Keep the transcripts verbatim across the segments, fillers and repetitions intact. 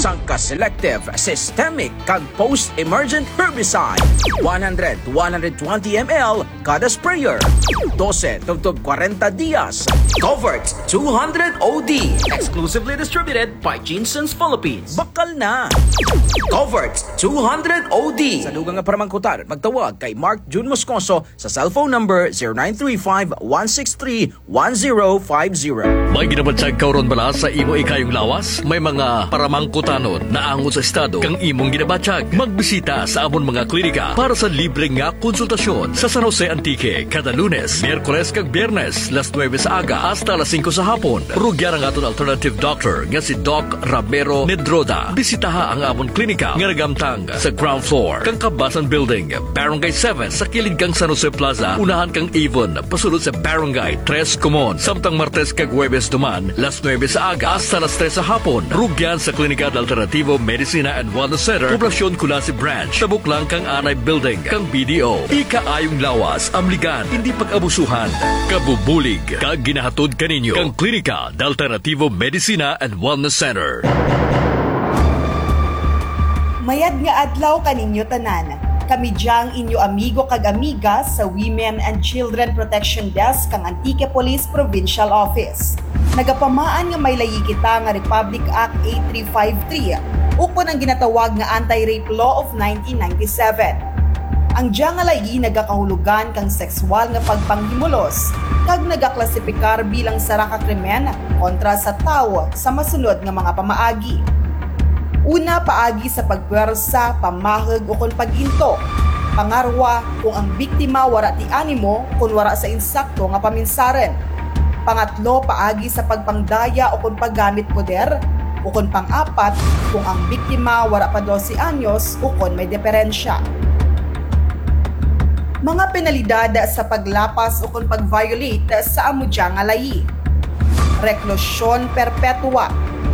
Sangka selective, systemic, kag post-emergent herbicide. One hundred to one hundred twenty M L kada sprayer. Dose tubtob kwarenta dias. Covert two hundred O D. Exclusively distributed by Jeanson's Philippines. Bakal na. Covert two hundred O D. Sa dugang nga paramangkutan, magtawag kay Mark Jun Moscoso sa cellphone number zero nine three five one six three one zero five zero. May ginabatyag ka run bala sa imo ikayong lawas? May mga paramangkutanon naangot sa estado kang imong ginabatyag? Magbisita sa amon mga klinika para sa libre nga konsultasyon sa San Jose, Antique, kada Lunes, Miyerkules kag Biyernes, las nuwebe sa aga hasta las singko sa hapon. Rugyan ang aton alternative doctor nga si Doc Ramiro Nedroda. Bisitaha ang amon klinika nga nagamtang sa ground floor kang Kabasan Building, Barangay seven, sa kilid kang San Jose Plaza, unahan kang Avon, pasulod sa Barangay Tres Comuon. Samtang Martes kag Huwebes duman, las nuwebe sa aga hasta las tres sa hapon. Rugyan sa Klinika de Alternativo Medicina and Wellness Center, Poblacion Culasi Branch, tabok lang kang Anay Building kang B D O. Ikaayong lawas, amligan, indi pag-abusuhan. Kabubulig kag ginahatod kaninyo kang Klinika de Alternativo Medicina and Wellness Center. Mayad nga adlaw kaninyo tanan. Kami dya ang inyo amigo kag amiga sa Women and Children Protection Desk kang Antique Police Provincial Office. Nagapamaan nga may layi kita nga Republic Act eight three five three, ukon ang ginatawag nga Anti-Rape Law of nineteen ninety-seven. Ang dya nga layi nagakahulugan kang sekswal nga pagpanghimulos, kag nagaklasipikar bilang sara ka krimen kontra sa tawo sa masunod nga mga pamaagi. Una, paagi sa pagpwersa, pamahug, ukon pag-into. Pangarwa, kung ang biktima wara ti animo, kon wara sa insakto nga paminsarun. Pangatlo, paagi sa pagpangdaya ukon paggamit poder, ukon pang-apat, kung ang biktima wara pa dose anyos ukon may deperensya. Mga penalidad sa paglapas ukon pag-violate sa amo dya nga layi. Reklusyon perpetua,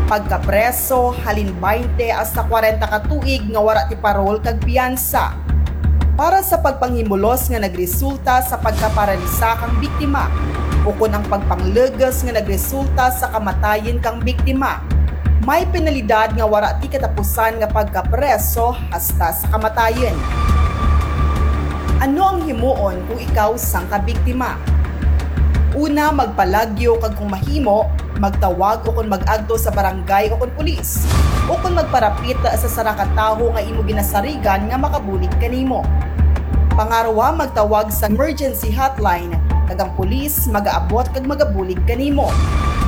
pagkapreso halin baynte hasta kwarenta ka tuig nga wara ti parol kag piyansa. Para sa pagpanghimulos nga nagresulta sa pagkaparansa kang biktima, ukon ang pagpanglugus nga nagresulta sa kamatayun kang biktima, may penalidad nga wara ti katapusan nga pagkapreso hasta sa kamatayun. Ano ang himuon kung ikaw sangka biktima? Una, magpalagyo kag kung mahimo, magtawag ukon mag-agto sa barangay ukon pulis, ukon magparapit sa sara ka tawo nga imo ginasarigan nga makabulig kanimo. Pangarwa, magtawag sa emergency hotline, kag ang pulis magaabot kag magabulig kanimo.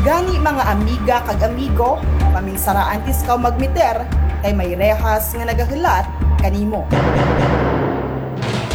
Gani, mga amiga kag amigo, paminsara antes kaw magmeter, kay may rehas nga nagahulat kanimo.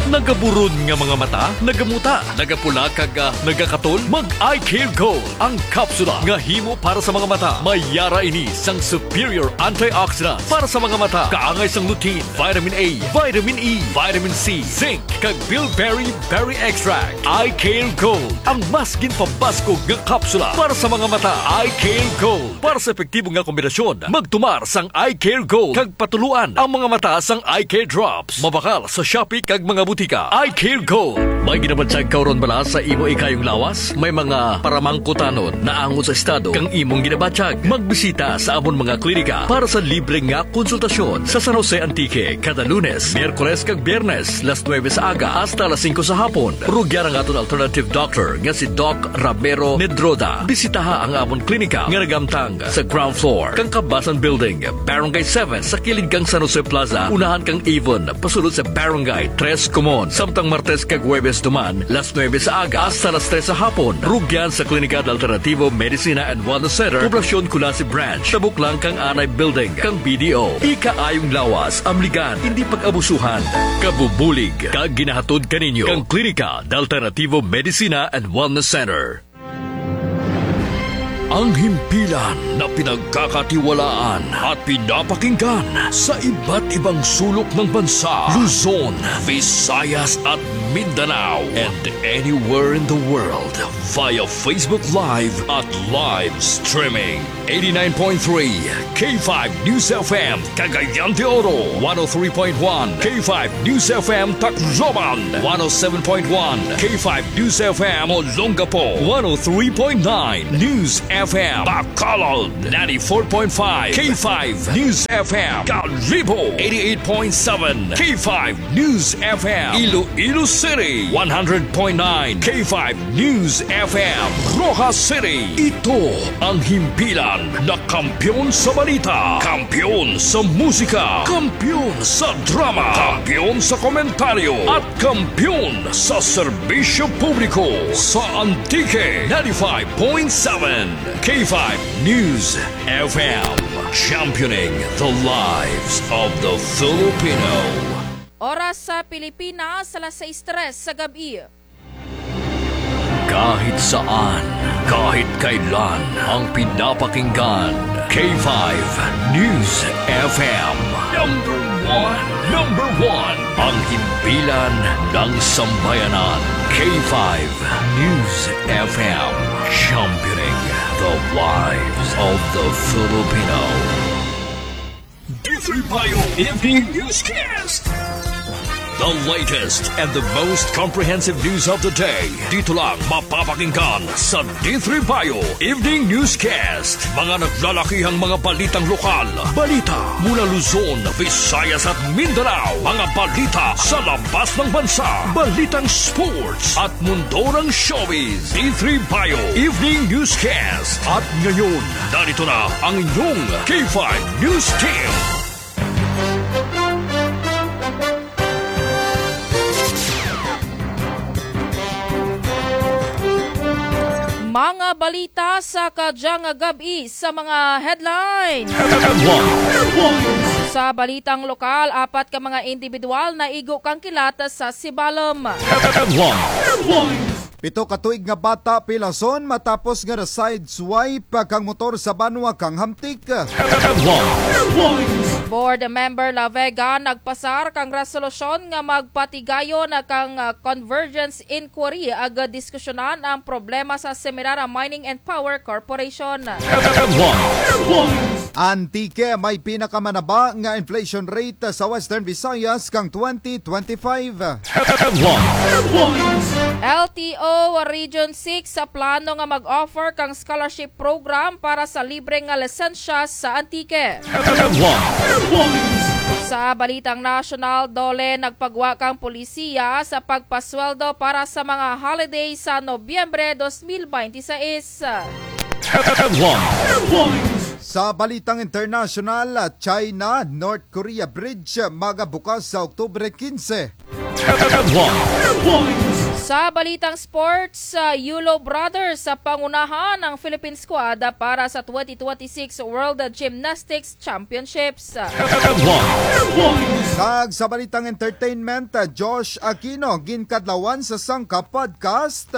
Nagaburon nga mga mata, nagamuta, nagapula kag, ah, nagakatol? Mag-Eye Care Gold, ang kapsula nga himo para sa mga mata. May yara ini sang superior antioxidants para sa mga mata. Kaangay sang lutein, vitamin A, vitamin E, vitamin C, zinc, kag bilberry berry extract. Eye Care Gold, ang mas ginpabaskog nga kapsula para sa mga mata. Eye Care Gold. Para sa epektibo nga kombinasyon, magtumar sang Eye Care Gold kag patuluan ang mga mata sang Eye Care Drops. Mabakal sa Shopee kag mga butika. Eye Care Gold. May ginabatyag ka run bala sa imo ikayong lawas? May mga paramangkutanon naangot sa estado kang imong ginabatyag? Magbisita sa amon mga klinika para sa libre nga konsultasyon sa San Jose, Antique, kada Lunes, Miyerkules kag Biyernes, las nuwebe sa aga hasta las singko sa hapon. Rugyan ang aton alternative doctor nga si Doc Ramiro Nedroda. Bisitaha ang amon klinika nga nagamtang sa ground floor kang Kabasan Building, Barangay seven, sa kilid kang San Jose Plaza, unahan kang Avon, pasulod sa Barangay Tres Comuon. Samtang Martes kag Huwebes duman, las nuwebe sa aga hasta las tres sa hapon. Rugyan sa Klinika de Alternativo Medicina and Wellness Center, Poblacion Culasi Branch, tabok lang kang Anay Building kang B D O. Ikaayong lawas, amligan, indi pag-abusuhan. Kabubulig kag ginahatod kaninyo kang Klinika de Alternativo Medicina and Wellness Center. Ang himpilan na pinagkakatiwalaan at pinapakinggan sa iba't ibang sulok ng bansa, Luzon, Visayas at Mindanao, and anywhere in the world via Facebook Live at live streaming. Eighty-nine point three K five News F M, Cagayan de Oro, one oh three point one K five News F M Tacloban, one oh seven point one K five News F M Olongapo, one oh three point nine News F M, Bacolod, ninety-four point five K five News F M, Kalibo, eighty-eight point seven K five News F M, Iloilo City, one hundred point nine K five News F M, Roxas City. Ito ang himpilan na kampiyon sa balita, kampiyon sa musika, kampiyon sa drama, kampiyon sa komentaryo, at kampiyon sa serbisyo publiko. Sa Antique, ninety-five point seven K five News F M, championing the lives of the Filipino. Oras sa Pilipinas, alas sais tres sa gab-i. Kahit saan, kahit kailan, ang pinapakinggan, K five News F M. Number one, number one, ang himpilan ng sambayanan, K five News F M, championing the lives of the Filipino. D three Bio Evening Newscast. The latest and the most comprehensive news of the day. Dito lang mapapakinggan sa D three Bio Evening Newscast. Mga naglalakihang mga balitang lokal. Balita mula Luzon, Visayas at Mindanao. Mga balita sa labas ng bansa. Balitang sports at mundo ng showbiz. D three Bio Evening Newscast. At ngayon, narito na ang inyong K five News Team. Mga balita sa kadyang gab-i sa mga headlines. Headlines. Sa balitang lokal, apat ka mga indibidwal naigo kang kilat sa Sibalom. Headlines. Pito ka tuig nga bata pilason matapos nga na-sideswipe kang motor sa banwa kang Hamtic. Board Member La Vega nagpasar kang resolusyon nga magpatigayon kang, ah, convergence inquiry agud diskusyonan ang problema sa Semirara Mining and Power Corporation. Antique may pinakamanaba nga inflation rate sa Western Visayas kang twenty twenty-five. L T O Region six sa plano nga mag-offer kang scholarship program para sa libre nga lisensya sa Antique. Sa balitang nasyonal, DOLE nagpagwa kang polisiya sa pagpasweldo para sa mga holiday sa Nobyembre dos mil baynte sais. Sa balitang internasyonal, China, North Korea bridge magabukas sa Oktubre kinse. Sa balitang sports, ah, Yulo Brothers sa pangunahan ang Philippine squad, ah, para sa twenty twenty-six World Gymnastics Championships. Kag sa balitang entertainment, ah, Josh Aquino ginkadlawan sa sangka podcast.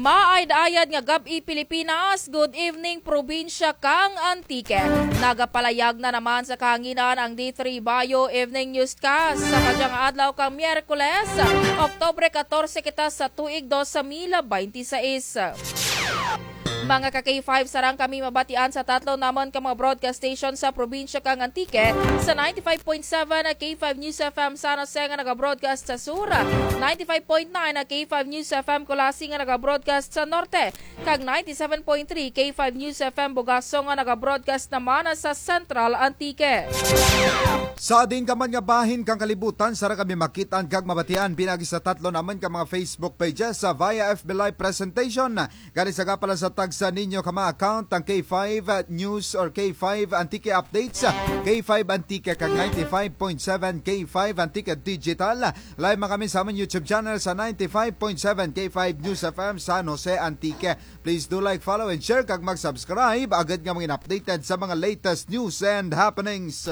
Maayad-ayad nga gab-i, Pilipinas. Good evening, probinsya kang Antique. Nagapalayag na naman sa kahanginan ang D three Bio Evening Newscast sa kadyang adlaw kang Miyerkules, Oktubre katorse kita sa tuig dos mil baynte sais. Mga ka K five, sarang kami mabatian sa tatlo namun ka mga broadcast station sa probinsya kang Antique, sa ninety-five point seven K five News F M San Jose nga naga-broadcast sa sur, ninety-five point nine K five News F M Culasi nga naga-broadcast sa norte, kag ninety-seven point three K five News F M Bugaso nga naga-broadcast naman sa Central Antique. Sa diin ka man nga bahin kang kalibutan, sara kami makit-an kag mabatian pinaagi sa tatlo namun ka mga Facebook pages, sa via F B Live presentation, gani sa gapalan sa tagsa ninyo ka mga account, ang K five News or K five Antique Updates, K five Antique kag ninety-five point seven K five Antique Digital. Live man kami sa amon YouTube channel sa ninety-five point seven K five News F M San Jose, Antique. Please do like, follow, and share kag mag-subscribe agud nga mangin updated sa mga latest news and happenings.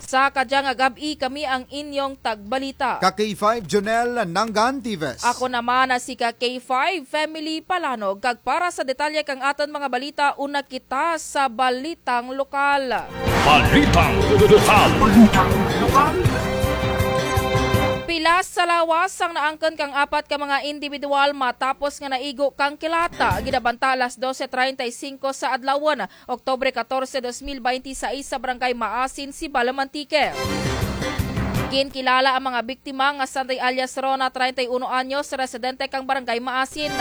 Sa kadya nga gab-i kami ang inyong tagbalita, ka K five Jonel Nangan Tives. Ako naman na si ka K five Family Palanog, kag para sa detalye kang aton mga balita, una kita sa balitang lokal. Balitang lokal. Pilas sa lawas ang naangkon kang apat ka mga indibidwal matapos nga naigo kang kilata. Ginabanta alas dose treinta y cinco sa adlawon, Oktubre katorse, dos mil baynte sais, sa Barangay Maasin, Sibalom, Antique. Ginkilala ang mga biktima nga sanday alias Rona, treinta y uno anyos, residente kang Barangay Maasin,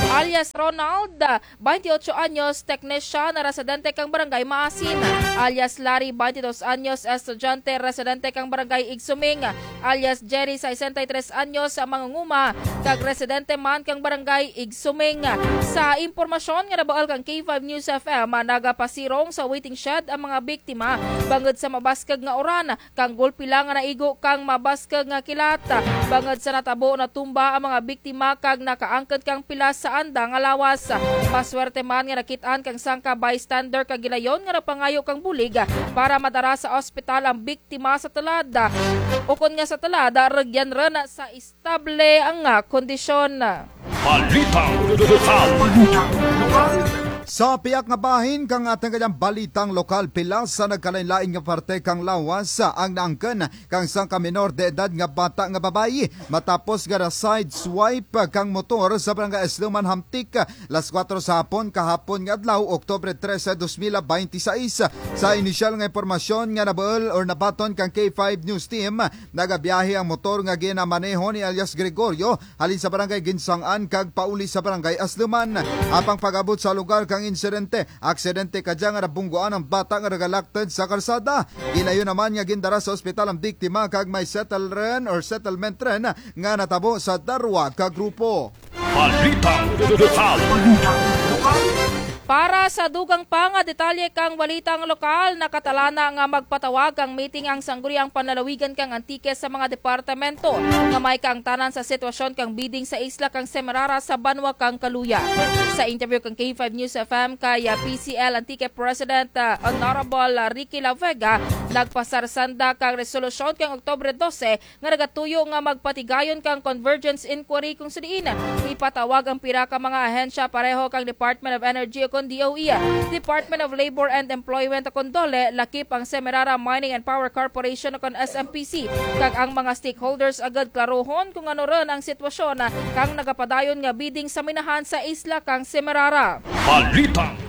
alias Ronald, baynte otso anyos, technician, residente kang Barangay Maasin, alias Larry, baynte dos anyos, estudyante, residente kang Barangay Igsuming, alias Jerry, sesenta y tres anyos, mangunguma, kag residente man kang Barangay Igsuming. Sa impormasyon nga nabuul kang K five News F M, nagapasirong sa waiting shed ang mga biktima bangud sa mabaskug nga uran, kang gulpi lang nga naigo kang mabaskug nga kilat. Bangud sa natabo, natumba ang mga biktima kag nakaangkon kang pilas sa anda nga lawas. Maswerte man nga nakit-an kang sangka bystander kag gilayon nga nagpangayo kang bulig para madara sa ospital ang biktima sa tulad. Ukon nga sa tulad, rugyan run sa estable nga kondisyon. Balitang lokal. Sa piyak nga bahin kang atun kadyang balitang lokal, pilas sa nagkalain-lain nga parte kang lawas ang naangkon kang sangka minor de edad nga bata nga babayi matapos nga na-sideswipe kang motor sa Barangay Asluman, Hamtic, las kuwatro sa hapon kahapon nga adlaw, Oktubre trese, dos mil baynte sais. Sa inisyal nga impormasyon nga nabuul or nabaton kang K five News Team, nagabiyahe ang motor nga ginamaneho ni alias Gregorio halin sa Barangay Ginsang-an kag pauli sa Barangay Asluman. Apang pag-abot sa lugar kang insidente, aksidente kadya nga nabungguan ang bata nga nagalaktud sa karsada. Gilayon naman nga gindara sa ospital ang biktima kag may settle run or settlement run nga natabo sa darwa ka grupo. Balitang lokal. Para sa dugang pa nga detalye kang balitang lokal, nakatalana nga magpatawag kang meeting ang Sangguniang Panlalawigan kang Antique sa mga departamento nga may kaangtanan sa sitwasyon kang bidding sa isla kang Semirara sa banwa kang Caluya. Sa interview kang K five News F M kay, ah, P C L Antique President, ah, Honorable, ah, Ricky La Vega, nagpasar sanda kang resolusyon kang Oktubre dose nga nagatuyo nga magpatigayon kang convergence inquiry kung sa diin ipatawag ang pira ka mga ahensya pareho kang Department of Energy ukon D O E, Department of Labor and Employment ukon DOLE, lakip ang Semirara Mining and Power Corporation ukon S M P C, kag ang mga stakeholders agud klarohon kung ano run ang sitwasyon kang nagapadayon nga bidding sa minahan sa isla kang Semirara. Balitang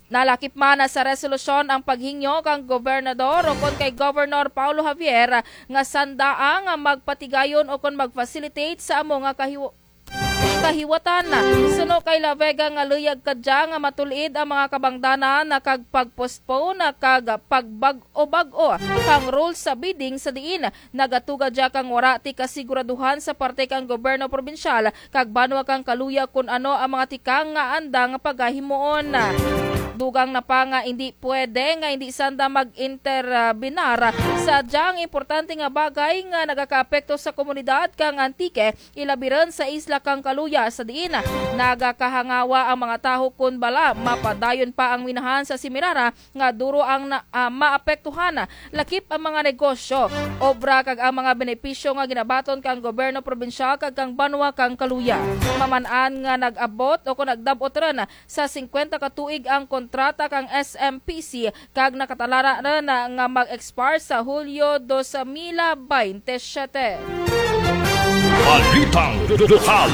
Nalakip man sa resolusyon ang paghingyo kang gobernador ukon kay Governor Paolo Javier nga sanda nga magpatigayon ukon mag-facilitate sa amo nga kahiw-, kahiwatan. Suno kay La Vega nga luyag kadya nga matul-id ang mga kabangdanan kag pag-postpone kag pagbag-o-bag-o kang rules sa bidding sa diin nagatuga dya kang wara ti kasiguraduhan sa parte kang gobyerno probinsyal kag banwa kang Caluya kun ano ang mga tikang nga andang pagahimuon. Dugang na pa nga indi pwede nga indi sanda mag-interbinar sa dyang importante nga bagay nga nagakaapekto sa komunidad kang Antique, ilabi run sa isla kang Caluya, sa diin nagakahangawa ang mga tawo kun bala mapadayon pa ang minahan sa Semirara nga duro ang na-, ah, maapektuhan, lakip ang mga negosyo, obra kag ang mga benepisyo nga ginabaton kang gobyerno probinsyal kag kang banwa kang Caluya. Maman-an nga nag-abot ukon nagdab-ot run sa singkwenta ka tuig ang kontrata kang S M P C kag nakatalana run nga mag-expire sa Hulyo dos mil baynte siyete. Balitang lokal.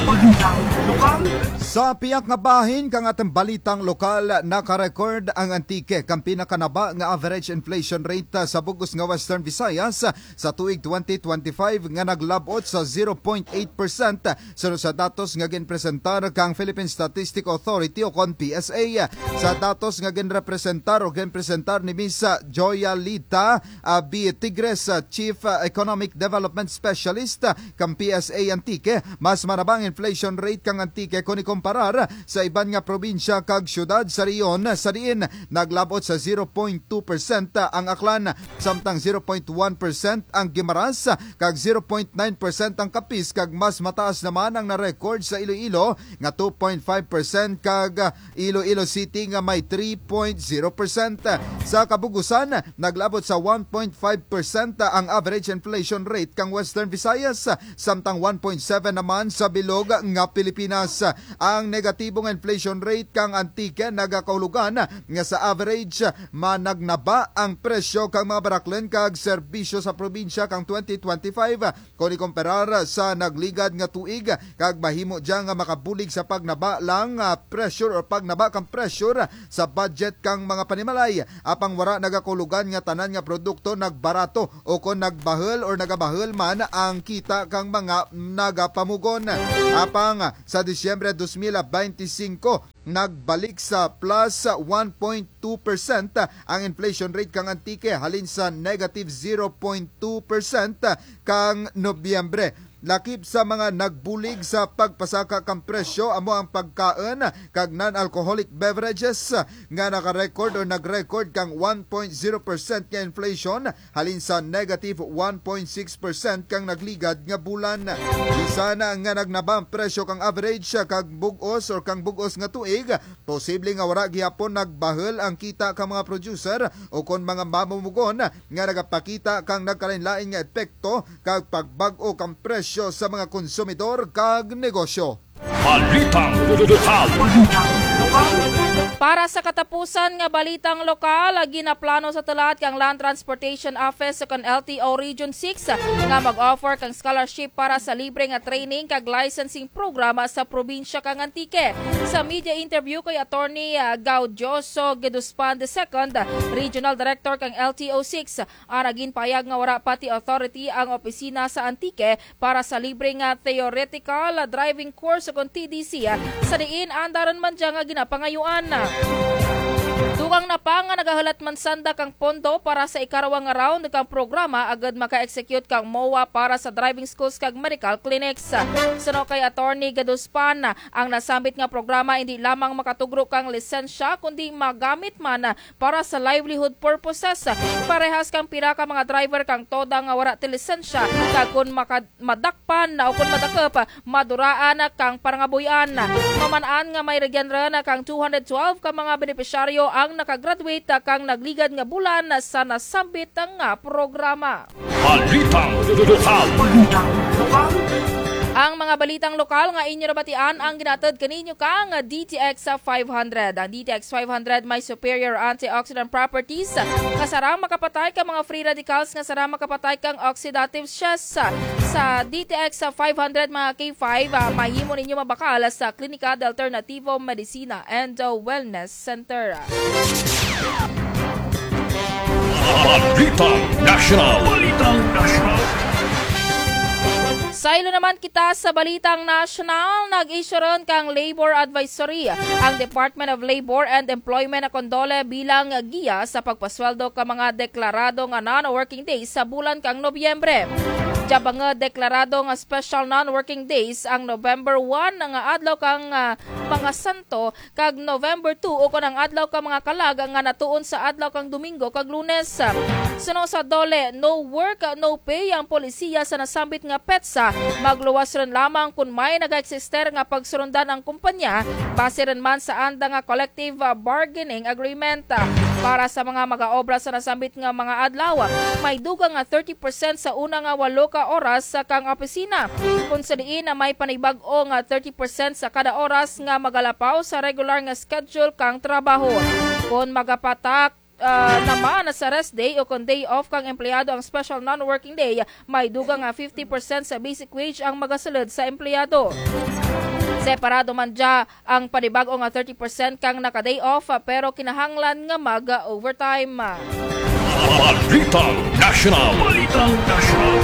Sa piyak nga bahin kang atun balitang lokal, naka-record ang Antique kang pinakanaba nga average inflation rate, ah, sa bug-os nga Western Visayas, ah, sa tuig twenty twenty-five nga naglab-ot sa zero point eight percent, suno sa datos nga ginpresentar kang Philippine Statistics Authority ukon P S A. Sa datos nga ginrepresentar o ginpresentar ni Miss, ah, Joyalita, ah, B. Tigres, ah, Chief, ah, Economic Development Specialist, ah, kang P S A Antique, mas manaba ang inflation rate kang Antique kun ikomparar sa iban nga probinsya kag syudad sa rehiyon, sa diin naglab-ot sa zero point two percent ang Aklan, samtang zero point one percent ang Guimaras, kag zero point nine percent ang Capiz, kag mas mataas naman ang na-record sa Iloilo nga two point five percent, kag Iloilo City nga may three point zero percent. Sa kabug-usan, naglab-ot sa one point five percent ang average inflation rate kang Western Visayas, samtang one point seven naman sa bilog nga Pilipinas. Pilipinas. Ang negatibo nga inflation rate kang Antique nagakahulugan nga sa average, managnaba ang presyo kang mga baraklen kag serbisyo sa probinsya kang twenty twenty-five kon ikomparar sa nagligad nga tuig, kag mahimo dya nga makabulig sa pagnaba lang, ah, pressure or pagnaba kang pressure sa budget kang mga panimalay. Apang wara nagakahulugan nga tanan nga produkto nagbarato o kon nagbahul or nagabahul man ang kita kang mga nagapamugon. Apang sa Disyembre dos mil bente singko, nagbalik sa plus one point two percent ang inflation rate kang Antique, halin sa negative zero point two percent kang Nobyembre. Lakip sa mga nagbulig sa pagpasaka kang presyo amo ang pagkaun kag non-alcoholic beverages nga naka-record o nag-record kang one point zero percent nga inflation, halin sa negative one point six percent kang nagligad nga bulan. Bisan nga nagnaba ang presyo kang average kag bug-os or kang bug-os nga tuig, posible nga wara gihapon nagbahul ang kita kang mga producer o kon mga mamumugon nga nagapakita kang nagkalain-lain nga epekto kag pagbag-o kang presyo sa mga konsumidor kag negosyo. Balitang lokal. Para sa katapusan nga balitang lokal, ginaplano sa tulad kang Land Transportation Office kon L T O Region six nga mag-offer kang scholarship para sa libre nga training kag licensing program sa probinsya kang Antique. Sa media interview kay Attorney, ah, Gaudioso Geduspan the second, Regional Director kang L T O six, ana ginpahayag nga wara pa ti authority ang opisina sa Antique para sa libre nga theoretical driving course kon T D C, sa diin anda run man dya nga ginapangayuan. Dugang na pa nga nagahulat man sanda kang pondo para sa ikarwa nga round kang programa agud maka-execute kang MOA para sa driving schools kag medical clinics. Suno kay Attorney Gaduspan, ang nasambit nga programa indi lamang makatugro kang lisensya, kundi magamit man para sa livelihood purposes. Parehas kang pira ka mga driver kang TODA nga wara ti lisensya, kag kon maka-, madakpan o kon madakup, maduraan kang parangabuy-an. Maman-an nga may rugyan run kang two hundred twelve ka mga benepisyaryo ang nakagraduate kang nagligad nga bulan sa nasambit nga programa. Balitang lokal. Ang mga balitang lokal nga inyo nabatian ang ginahatod kaninyo kang D T X five hundred. Ang D T X five hundred may superior antioxidant properties nga sarang makapatay kang mga free radicals nga sarang makapatay kang oxidative stress. Sa D T X five hundred, mga K five, ah, mahimo ninyo mabakal sa Klinika de Alternativo Medicina and Wellness Center. Balitang Nasyonal. Balitang Nasyonal. Saylo naman kita sa balitang nasyonal, nag-issue run kang Labor Advisory ang Department of Labor and Employment kon DOLE bilang giya sa pagpasweldo kang mga deklarado nga non-working days sa bulan kang Nobyembre. Dya bangud deklarado nga special non-working days ang November one nga adlaw kang, ah, mga santo, kag November two, ukon ang adlaw kang mga kalag nga natuon sa adlaw kang Domingo kag Lunes. Suno sa DOLE, no work, no pay ang polisiya sa nasambit nga petsa. Magluwas run lamang kon may nagaeksister nga pagsurundan ang kumpanya, base run man sa anda nga collective, ah, bargaining agreement. Para sa mga mag-aobra sa nasambit nga mga adlaw, may dugang nga thirty percent sa una nga walo ka oras sa kang opisina. Kon sa diin na may panibag-o nga thirty percent sa kada oras nga magalapaw sa regular nga schedule kang trabaho. Kon magapatak, ah, naman sa rest day o kon day off kang empleyado ang special non-working day, may dugang nga fifty percent sa basic wage ang magasulud sa empleyado. Separado man dya ang panibag-o nga thirty percent kang naka-day off, pero kinahanglan nga mag-overtime. Balitang Nasyonal. Balitang Nasyonal.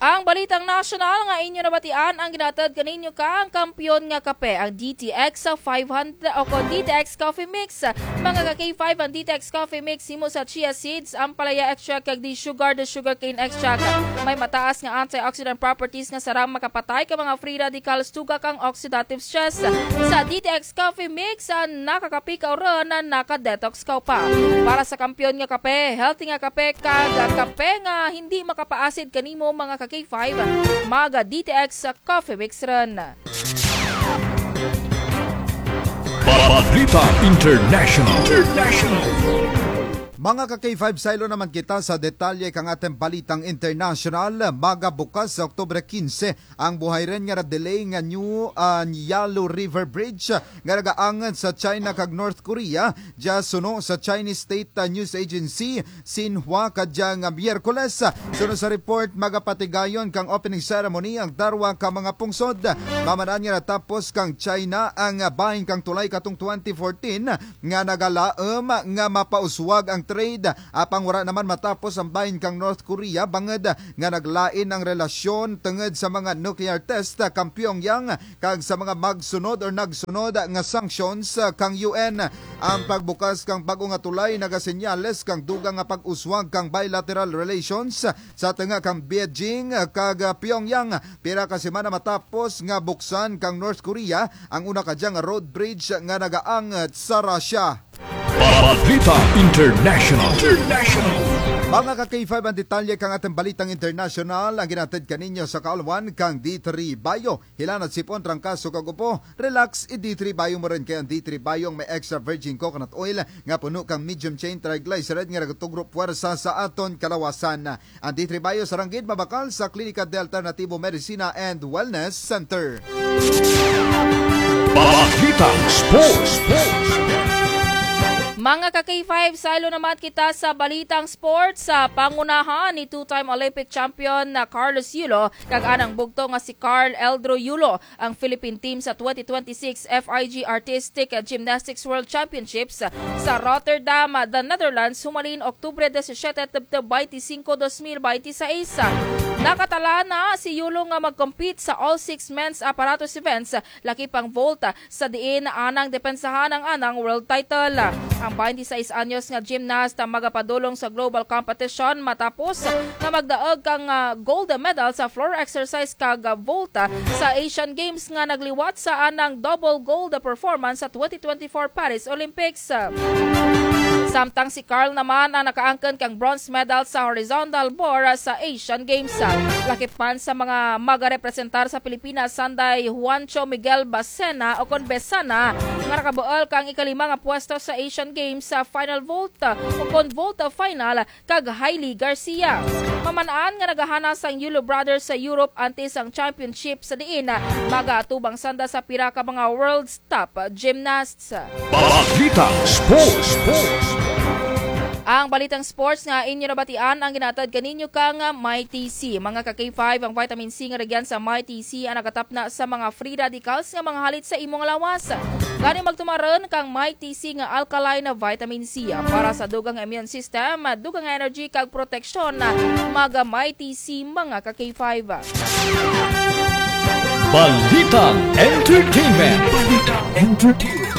Ang balitang nasyonal nga inyo nabatian ang ginahatod kaninyo kang kampiyon nga kape, ang D T X five hundred o kon D T X Coffee Mix. Mga ka-K five, ang D T X Coffee Mix himo sa chia seeds, ampalaya extract kag desugared sugarcane extract. May mataas nga antioxidant properties nga sarang makapatay kang mga free radicals, tuga kang oxidative stress. Sa D T X Coffee Mix, ah, nakakape kaw run, ah, naka-detox kaw pa. Para sa kampiyon nga kape, healthy nga kape, kag kape nga hindi makapaasid kanimo, mga ka-K five, mag-D T X Coffee Mix run. Balita International. International. Mga ka K five, saylo naman kita sa detalye kang atun balitang internasyonal. Magabukas sa Oktubre kinse ang buhay run nga na-delay nga New, ah, Yalu River Bridge nga nagaangod sa China kag North Korea. Dya suno sa Chinese State, ah, News Agency, Xinhua, kadya nga Miyerkules. Suno sa report, magapatigayon kang opening ceremony ang darwa ka mga pungsod. Maman-an nga natapos kang China ang, ah, bahin kang tulay katong twenty fourteen nga nagalaum nga mapauswag ang trade, apang wara naman matapos ang bahin kang North Korea bangud nga naglain ang relasyon tungud sa mga nuclear test kang Pyongyang kag sa mga magsunod or nagsunod nga sanctions kang U N. Ang pagbukas kang bag-o nga tulay nagasenyales kang dugang nga pag-uswag kang bilateral relations sa tunga kang Beijing kag Pyongyang. Pira ka semana matapos nga buksan kang North Korea ang una kadya nga road bridge nga nagaangod sa Russia. Balita International. International. Mga ka K five, ang detalye kang atun balitang internasyonal ang ginahatid kaninyo sa kaulwan kang D three Bio. Hilanat, sipon, trangkaso kag upo, relax in D three Bio mo run, kay ang D three Bio may extra virgin coconut oil nga puno kang medium chain triglyceride nga nagatugro pwersa sa atun kalawasan. Ang D three Bio sa Rangid mabakal sa Klinika de Alternativo Medicina and Wellness Center. Balitang Sports. Mga ka K five, saylo naman kita sa balitang sports. Sa pangunahan ni two-time Olympic champion na Carlos Yulo kag anang bugto nga si Carl Eldro Yulo, ang Philippine team sa twenty twenty-six F I G Artistic Gymnastics World Championships sa Rotterdam, the Netherlands, humalin Oktubre disisiete tubtub baynte singko, dos mil baynte sais. Nakatala na si Yulo nga mag-compete sa all six men's apparatus events, lakip ang vault, sa diin anang depensahan ang anang world title. Ang baynte sais anyos nga gymnast ang magapadulong sa global competition matapos nga magdaug kang, ah, gold medal sa floor exercise kag, ah, vault, ah, sa Asian Games nga nagliwat sa anang double gold performance sa twenty twenty-four Paris Olympics. Samtang si Carl naman ang nakaangkon kang bronze medal sa horizontal bar sa Asian Games. Lakip man sa mga magarepresentar sa Pilipinas, sanday Juancho Miguel Bacena o kon Besana, nga nakabuul kang ikalima nga pwesto sa Asian Games sa final vault o kon vault final, kag Hailey Garcia. Maman-an nga nagahanas ang Yulo Brothers sa Europe antes ang championship, sa diin magaatubang sanda sa pira ka mga world's top gymnasts. Balitang Sports. Ang balitang sports nga inyo nabatian ang ginahatod kaninyo kang Mighty C. Mga ka K five, ang vitamin C nga rugyan sa Mighty C ang nagatapna sa mga free radicals nga mangahalit sa imo nga lawas. Gani magtumar run kang Mighty C nga alkaline vitamin C para sa dugang nga immune system, dugang nga energy kag proteksyon. Mag-Mighty C, mga ka K five. Balitang Entertainment. Balitang Entertainment.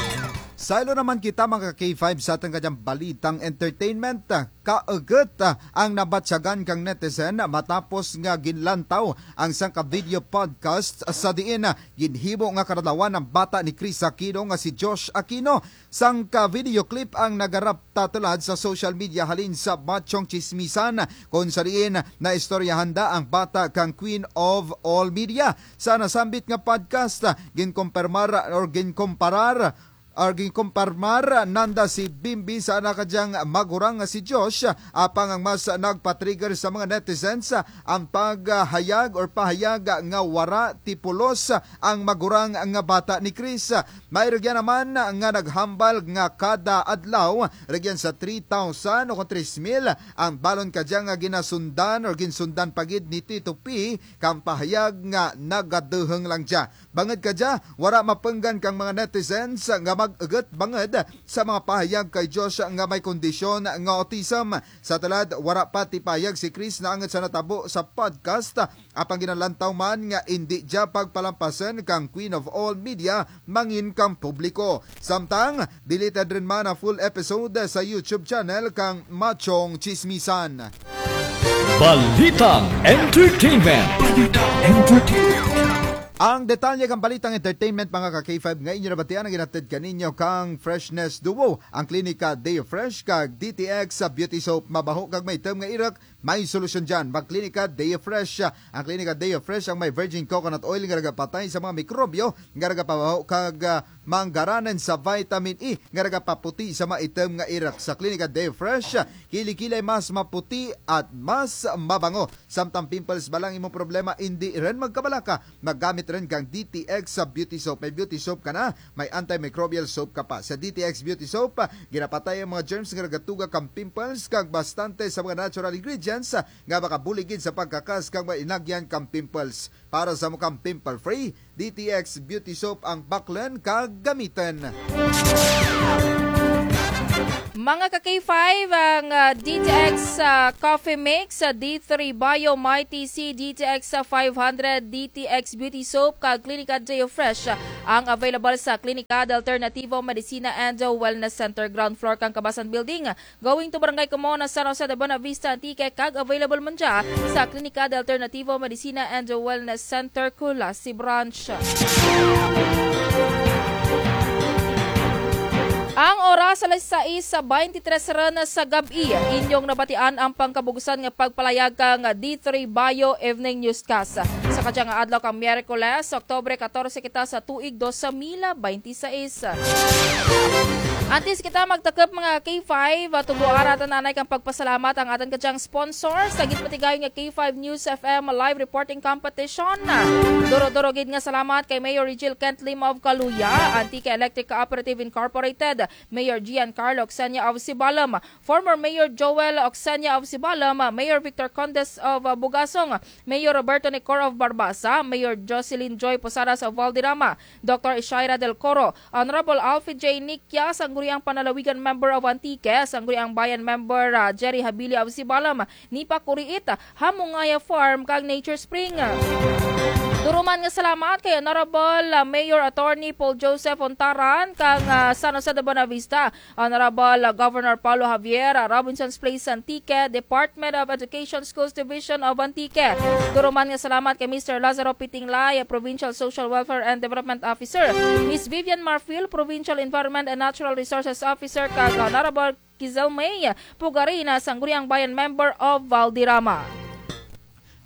Saylo naman kita, mga ka K five, sa atun kadyang balitang entertainment. Kaugut, ah, ang nabatyagan kang netizen matapos nga ginlantaw ang sangka video podcast sa diin, ah, ginhimo nga karadlawan ang bata ni Kris Aquino nga si Josh Aquino. Sangka video clip ang nagarapta tulad sa social media halin sa Machong Chismisan, kon sa diin naistoryahan da ang bata kang Queen of All Media. Sa nasambit nga podcast, ah, ginkumpirmar or ginkumparar or ginkumpirmar nanda si Bimbi sa ana kadyang magurang nga si Josh, apang ang mas nagpa-trigger sa mga netizens ang paghayag or pahayag nga wara ti pulos ang magurang nga bata ni Kris. May rugyan naman nga naghambal nga kada adlaw, rugyan sa three thousand o kon tres mil, ang balon kadya nga ginasundan or ginsundan pa gid ni Tito P kang pahayag nga nagaduhung lang dya. Bangud kadya, wara mapunggan kang mga netizens nga mag-ugut bangud sa mga pahayag kay Josh nga may kondisyon nga autism. Sa tulad, wara pa ti pahayag si Kris naangut sa natabo sa podcast, apang ginalantaw man nga indi dya pagpalampasun kang Queen of All Media mangin kang publiko. Samtang, dili tad run man ang full episode sa YouTube channel kang Machong Chismisan. Balitang Entertainment. Balitang Entertainment. Ang detalye kang balitang entertainment, mga ka K five, nga inyo nabatian ang ginahatod kaninyo kang Freshness Duo, ang Klinika Deo Fresh kag D T X sa Beauty Soap. Mabaho kag maitom nga irok, may solusyon dyan. Mag-Klinika Day Fresh. Ang Klinika Day Fresh ang may virgin coconut oil nga nagapatay sa mga mikrobyo, nga nagapabaho kag, ah, manggaranan sa vitamin E, nga nagapaputi sa maitem nga irok. Sa Klinika Day Fresh, kilikilay mas maputi at mas mabango. Samtang pimples ba lang imong problema, indi run magkabalaka. Maggamit run kang D T X sa beauty soap. May beauty soap ka na, may antimicrobial soap ka pa. Sa D T X beauty soap, ginapatay ang mga germs nga nagatuga kang pimples, kag bastante sa mga natural ingredients nga makabulig gid sa pagkakas kang mga inagyan kang pimples. Para sa imo kang pimple free, D T X beauty soap ang baklan kag gamitan. Mga ka K five, ang, ah, D T X, ah, Coffee Mix, ah, D three Bio Mighty C, D T X, ah, five hundred, D T X Beauty Soap, kag Klinika Day Fresh, ah, ang available sa Klinika de Alternativo Medicina and Wellness Center, ground floor kang Kabasan Building, going to Barangay Comona, San Jose de Buenavista, Antique, kag available man dya sa Klinika de Alternativo Medicina and Wellness Center, Culasi Branch. Ang oras, alas sais baynte tres run sa gab-i. Inyong nabatian ang pangkabug-usan nga pagpalayag kang D three Bio Evening Newscast. Sa kadyang adlaw kang Miyerkules, Oktubre katorse kita sa tuig dos mil baynte sais. Antes kita magtakup, mga K five, ah, tugroan natun anay kang pagpasalamat ang atun kadyang sponsor sa ginpatigayon nga K five News F M Live Reporting Competition. Duro-duro gid nga salamat kay Mayor Rigil Kent Lim of Caluya, Antique Electric Cooperative Incorporated, Mayor Giancarlo Oxenia of Sibalom, former Mayor Joel Oxenia of Sibalom, Mayor Victor Condes of, ah, Bugasong, Mayor Roberto Necor of Barbaza, Mayor Jocelyn Joy Posadas of Valderrama, Doctor Ishaira Del Coro, Honorable Alfie J Nicia, Sangguniang Panlalawigan Member of Antique, Sangguniang Bayan Member, ah, Jerry Habili of Sibalom, Nipa Kuriit, Hamungaya Farm, kag Nature Spring. Duro man nga salamat kay Honorable, ah, Mayor Attorney Paul Joseph Ontaran kang, ah, San Jose de Buenavista, Honorable, ah, Governor Paolo Javier, ah, Robinson's Place, Antique, Department of Education, Schools Division of Antique. Duro man nga salamat kay Mister Lazaro Pitinglay, ah, Provincial Social Welfare and Development Officer, Miss Vivian Marfil, Provincial Environment and Natural Resources Officer, kag Honorable Kizel May Pugarina, Sangguniang Bayan Member of Valderrama.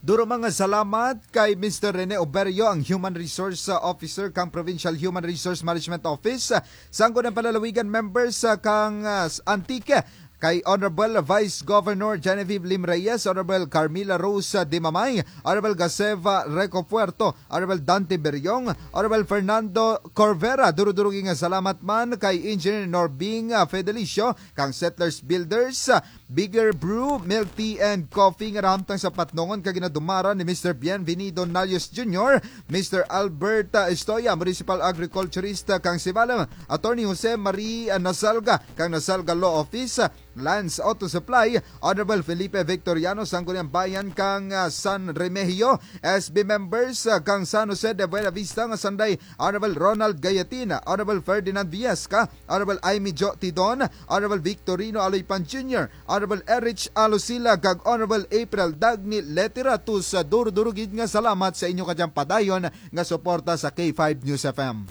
Duro man nga salamat kay Mister Rene Oberio, ang Human Resource, uh, Officer kang Provincial Human Resource Management Office, uh, Sangguniang Panlalawigan members, uh, kang, uh, Antique, kay Honorable Vice Governor Genevieve Lim Reyes, Honorable Carmila Rose, uh, Dimamay, Honorable Gaseva Reco Puerto, Honorable Dante Beriong, Honorable Fernando Corvera. Duro-duro gid nga salamat man kay Engineer Norbing, uh, Fedelicio, kang Settlers Builders, uh, Bigger Brew, Milk Tea and Coffee nga nahamtang sa Patnongon kag ginadumaran ni Mister Bienvenido Nalios Junior, Mister Albert, ah, Estoya, Municipal Agriculturist, ah, kang Sibalom, Attorney Jose Marie, ah, Nasalga, kang Nasalga Law Office, ah, Lance Auto Supply, Honorable Felipe Victoriano, Sangguniang Bayan kang, ah, San Remigio, S B members, ah, kang San Jose de Buenavista nga sanday, Honorable Ronald Gayatina, Honorable Ferdinand Viesca, Honorable Aimee Jo Tidon, Honorable Victorino Aloypan Junior, Honorable Erich Alosila, kag Honorable April Dagny Letiratus. Duro-duro gid nga salamat sa inyo kadyang padayon nga suporta sa K five News F M.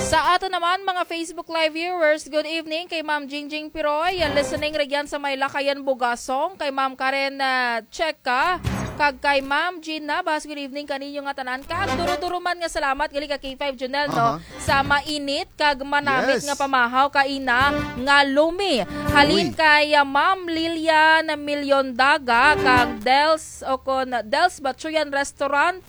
Sa atun naman, mga Facebook Live viewers, good evening kay Ma'am Jingjing Piroy, listening rugyan sa may Lacayan, Bugasong, kay Ma'am Karen, ah, Checa, kag kay Ma'am Jean Nabas, good evening kaninyo nga tanan. Kag duro-duro man nga salamat gali ka K five Junel, no? Aha. Sa mainit kag manamit, yes, nga pamahaw kaina nga lumi. Halin, uy, kay, ah, Ma'am Lilian Millondaga kang Dels, o kon Dels Bachuyan Restaurant.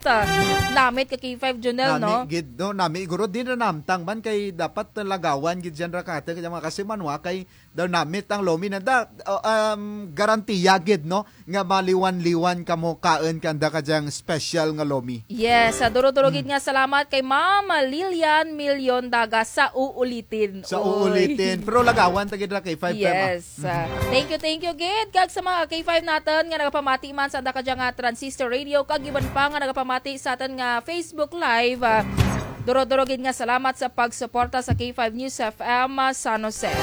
Namit ka K five Junel, no? Nami gid, no? Nami guro, di na nahamtang man kay dapat lagawan gid dyan ra kata, kay mga kasimanwa kay daw namit ang lumi nanda, uh, um, garantiya gid, no, nga maliwan-liwan kamo kaun kanda kadyang special nga lumi. Yes, ah, duro-duro gid nga salamat kay Ma'am Lilian Millondaga sa uulitin. Sa uulitin. Pero lagawan ta gid ra kay five P M, ah. Yes, ah, thank you, thank you gid. Kag sa mga K five natun nga nagapamati man sa anda kadyang, ah, Transistor Radio, kag iban pa nga nagapamati sa atun nga Facebook Live, ah, duro-duro gid nga salamat sa pagsuporta sa K five News F M, ah, San Jose.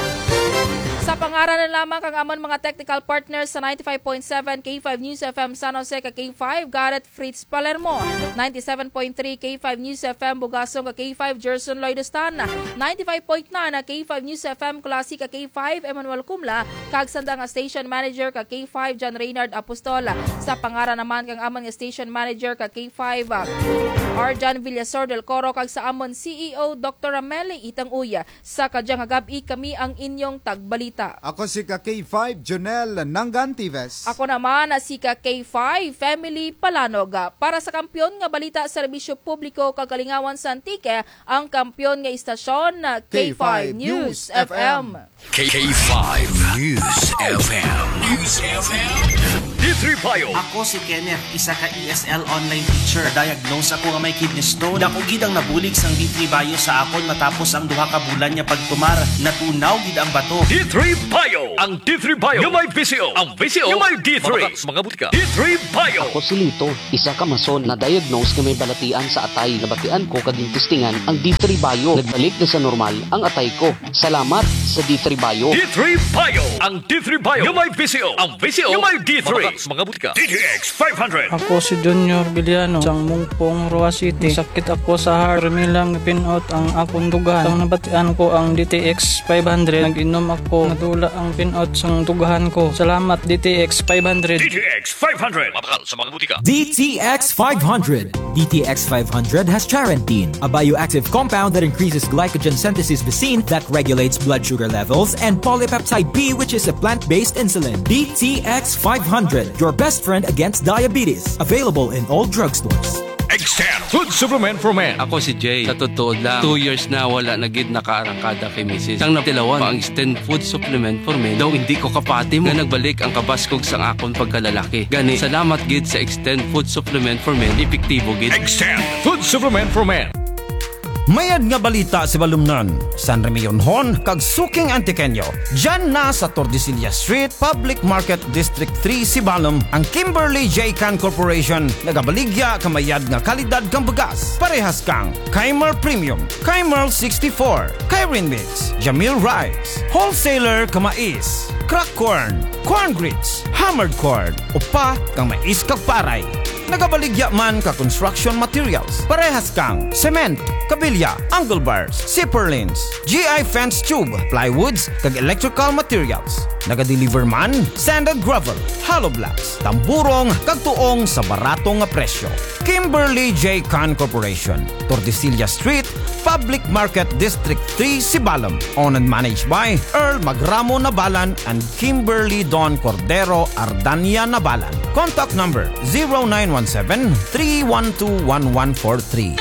Sa pangaran na lamang kang amun mga technical partners sa ninety-five point seven K five News F M San Jose kag K five, Garrett Fritz Palermo, ninety-seven point three K five News F M Bugasong kag K five Gerson Lloyd Stan, ninety-five point nine K five News F M Culasi kag K five Emmanuel Cumla, kag sanda nga station manager kag K five John Reynard Apostol. Sa pangaran naman kang amun nga station manager kag K five, ah, Arjan Villasor del Coro, kag sa amun C E O, Doktor Rameli Itang Uy. Sa kadya nga gab-i kami ang inyong tagbalita. Ako si ka K five, Jonel Nangantives. Ako naman si ka K five, Family Palanog. Para sa kampiyon nga balita, serbisyo publiko kag kalingawan sa Antique, ang kampiyon nga istasyon, K five News F M. K five News F M. News F M. D three Bio. Ako si Kenneth, isa ka E S L online teacher. Diagnose ako nga may kidney stone. Dako gid ang nabulig sang D three Bio sa akon matapos ang duha ka bulan nga pagtumar. Natunaw gid ang bato. D three Bio. Ang D three Bio nga may V C O. Ang V C O nga may D three. Mabakal sa mga butika. D three Bio. Ako si Lito, isa ka mason, na-diagnose nga may balatian sa atay. Nabatian ko kag ginestingan ang D three Bio. Nagbalik na sa normal ang atay ko. Salamat sa D three Bio. D three Bio. Ang D three Bio nga may V C O. Ang V C O nga may D three. Mabakal sa mga butika. D T X five hundred. Ako si Junior Villano, sang Mungpong, Roxas City. Sakit ako sa heart. Permi lang pin-ot ang akon dughan. Sang nabatian ko ang D T X five hundred, nag-inom ako. Nadula ang pin-ot sang dughan ko. Salamat, D T X five hundred. D T X five hundred. Mabakal sa mga butika. D T X five hundred. D T X five hundred has charantine, a bioactive compound that increases glycogen synthesis B C I N that regulates blood sugar levels, and polypeptide B, which is a plant-based insulin. D T X five hundred, your best friend against diabetes. Available in all drugstores. Extend Food Supplement for Men. Ako si Jay. Sa totoo lang, two years na wala na gid nakaarangkada kay misis. Sang natilawan pa ang Extend Food Supplement for Men, daw hindi ko kapati mo nga nagbalik ang kabaskog sang akon pagkalalaki. Gani, salamat gid sa Extend Food Supplement for Men, epektibo gid. Extend Food Supplement for Men. Mayad nga balita, Sibalomnon, San Remillionon, kag suking Antiqueño. Dyan na sa Tordesillas Street, Public Market, District three, Sibalom, ang Kimberly J Can Corporation, nagabaligya ka mayad nga kalidad kang bugas. Parehas kang Kaimer Premium, Kaimer sixty-four, Kairin Mix, Jamil Rice, wholesaler ka mais, crack corn, corn grits, hammered corn, upa kang mais kag paray. Nagabaligya man ka construction materials, parehas kang cement, kabilya, angle bars, zipper lines, G I fence tube, plywoods, kag electrical materials. Nagadeliver man sand and gravel, hollow blocks, tamburong, kag tuong sa barato nga presyo. Kimberly J Can Corporation, Tordesillas Street, Public Market, District three, Sibalom. Owned and managed by Earl Magramo Nabalan and Kimberly Don Cordero Ardania Nabalan. Contact number zero nine one seven, three one two, one one four three.